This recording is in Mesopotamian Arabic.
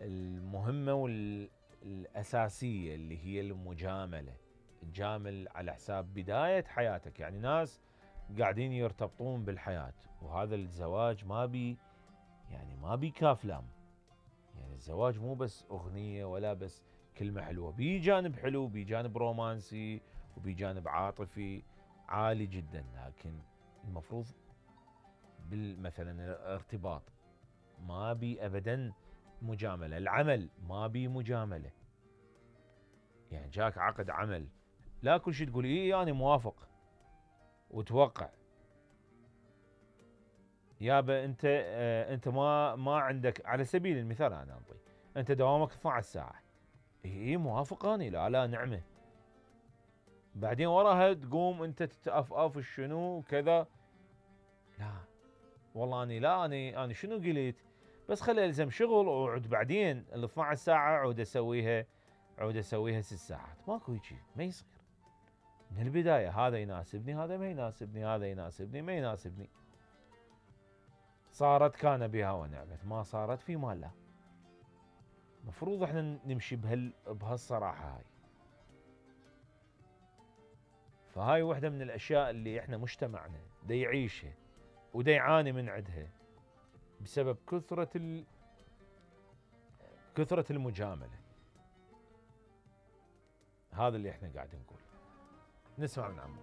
المهمة والأساسية اللي هي المجاملة. تجامل على حساب بداية حياتك. يعني ناس قاعدين يرتبطون بالحياة، وهذا الزواج ما بي كاف لام. يعني الزواج مو بس أغنية ولا بس كلمة حلوة، بي جانب حلو، بي جانب رومانسي، وبي جانب عاطفي عالي جدا. لكن المفروض مثلا الارتباط ما بي أبدا مجاملة. العمل ما بي مجاملة. يعني جاك عقد عمل، لا كل شيء تقول ايه انا موافق وتوقع. يابا انت ما عندك، على سبيل المثال انا انطي، انت دوامك 12 ساعة، ايه موافق اني، لا نعمة. بعدين وراها تقوم انت تتأفأف شنو كذا، لا والله اني شنو قلت، بس خلي الزم شغل وعد بعدين ال 12 ساعة عود اسويها 6 ساعات. ماكو هيجي، ما يصير. من البداية هذا يناسبني، هذا ما يناسبني، هذا يناسبني ما يناسبني. صارت كان بها ونعمت، ما صارت في مال لا. مفروض احنا نمشي بهالصراحة هاي. فهاي واحدة من الاشياء اللي احنا مجتمعنا دا يعيشها ودا يعاني من عندها بسبب كثرة المجاملة. هذا اللي احنا قاعد نقول. نسمع من عمو.